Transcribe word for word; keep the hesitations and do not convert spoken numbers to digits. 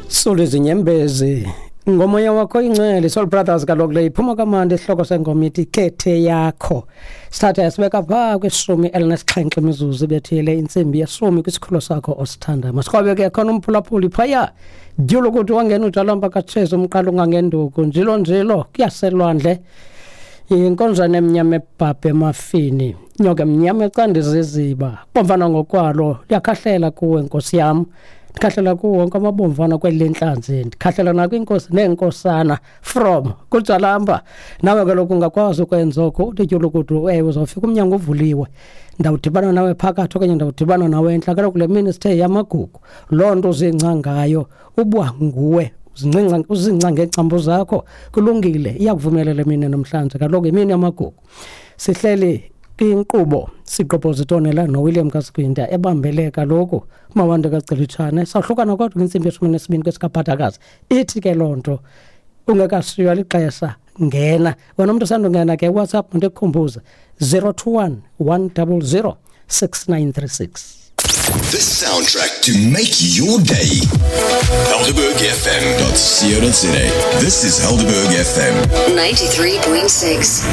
Sule izinyembezi ngomoya wakho ingcwele. Soul Brothers kaloku le iphuma kamandi. Isihloko sengoma ithi Khethe Yakho. Sithatha sibeka phaa kwishumi elinesixhenxe imizuzu ibethile intsimbi yeshumi kwisikhululo sakho osithanda. Masiqhwabe ke khona umphulaphuli phaya dyulo ukuthi wangena ujalamba katshezi umqala ungangenduku njilo njilo kuyaselwandle, inkonzane emnyama ebhabhe emafini, inyoka emnyama ecanda iziziba bomvana ngokwalo. Liyakhahlela kuwe, nkosi yam, ndikhahlela kuwo wonke amabomvana kweli lentlanzi, ndikhahlela nakwinkosi neenkosana from kujalamba. Nawe kaloku ungakwazi ukwenza oko, uthi tyulukudu. Ewe, uzawufika umnyango uvuliwe, ndawudibana nawe phakathi okanye ndawudibana nawe entla. Kaloku le mini sithe yamagugu, loo nto uzingca ngayo uba nguwe, uzincinca uzingca ngeengcambu zakho, kulungile, iyakuvumela le mini namhlanje. Kaloku imini yamagugu, sihleli kwinkqubo siqopozitonela noWilliam kaSigwinta ebambele kaloku uMawande kaCelitshane. Sahlukana kodwa kwintsimbi yeshumi nesibini kwesikabhadakazi. Ithi ke loo nto ungekashiywa lixesha, ngena wena umntu osandungena ke WhatsApp, ndikukhumbuze zero two one one double zero six nine three six. The soundtrack to make your day. Helderberg F M dot co dot za. This is Helderberg F M. ninety-three point six.